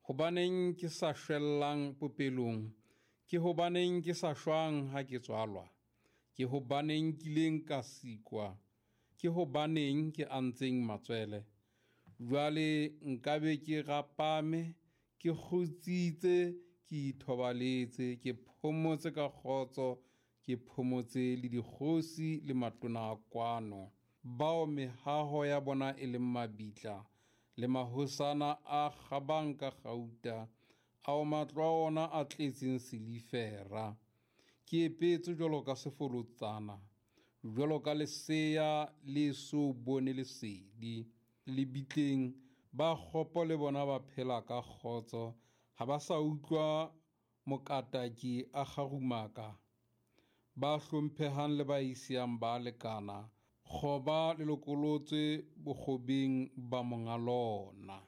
Hobaneng ke sa shwellang popelong? Ke hobaneng ke sa shwang ha ke tswalwa? Ke hobaneng kileng ka sikwa? Ke hobaneng ke antseng matswele? Jwale nkabe ke rapame, ke kgutsitse, ke ithobaletse, ke phomotse ka kgotso, ke phomotse le dikgosi le matona a kwano, bao mehaho ya bona e leng mabitla, le mahosana a kgabang ka kgauta, ao matlo a ona a tletseng silifera. Ke epetswe jwalo ka sefolotsana, jwalo ka lesea le so bone lesedi. Lebitleng ba kgopo le bona ba phela ka kgotso, ha ba sa utlwa mokataki a kgarumaka. Ba hlomphehang le ba isehang ba lekana, kgoba le lokolotswe bokgobeng ba monga lona.